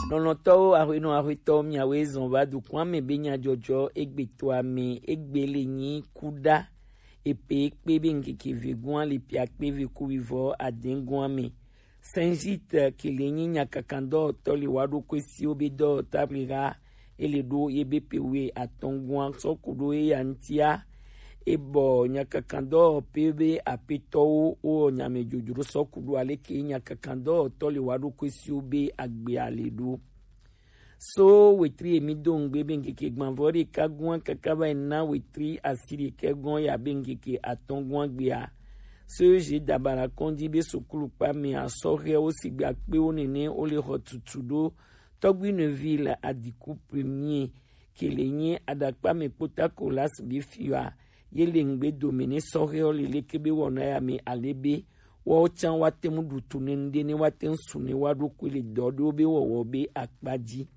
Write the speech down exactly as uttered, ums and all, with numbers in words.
Lɔlɔ̃tɔwo, aƒenɔ aƒetɔwo, miawoe zɔn va dukɔa me be nyadzɔdzɔ egbe toa me egbe le nyi kuɖa epe kpe be ŋkeke vegoa le pia kpe ve ku vivɔ adegoa me. Saint Gite ke le nyi nyakakandɔwɔtɔ le wa ɖo kue siwo be dɔwɔta ble ha ele ɖo ye be pe we atɔn goa sɔ ku ɖo eya ŋtia. Ebɔ nyakakandɔwɔpe be apetɔwo wo nyame dzodzro sɔ ku ɖo aleke nyakakandɔwɔtɔ le wa ɖo kue siwo be agbea le ɖo. So wetri emi do ŋgbe be ŋkeke gbãvɔ ɖeka gɔ̃a kaka va yi na wetri asi ɖekɛ gɔ̃ ya be ŋkeke atɔ̃ gɔ̃a gbea. So je dabara kɔndi be sukulu kpa me asɔhɛwo sigbe akpewo nene wo le xɔ tutu ɖo Tɔgbi Neville Adiku Premier ke le nye aɖakpa me kpota Kolas be fiɔa ye le ŋgbe dome ne sɔhɛwo le leke be wɔna ya me ale be woawo tsã woate ŋu ɖu tu ne ŋɖe ne woate ŋu su ne woaɖokui le dɔ ɖewo be wɔwɔ be akpa dzi.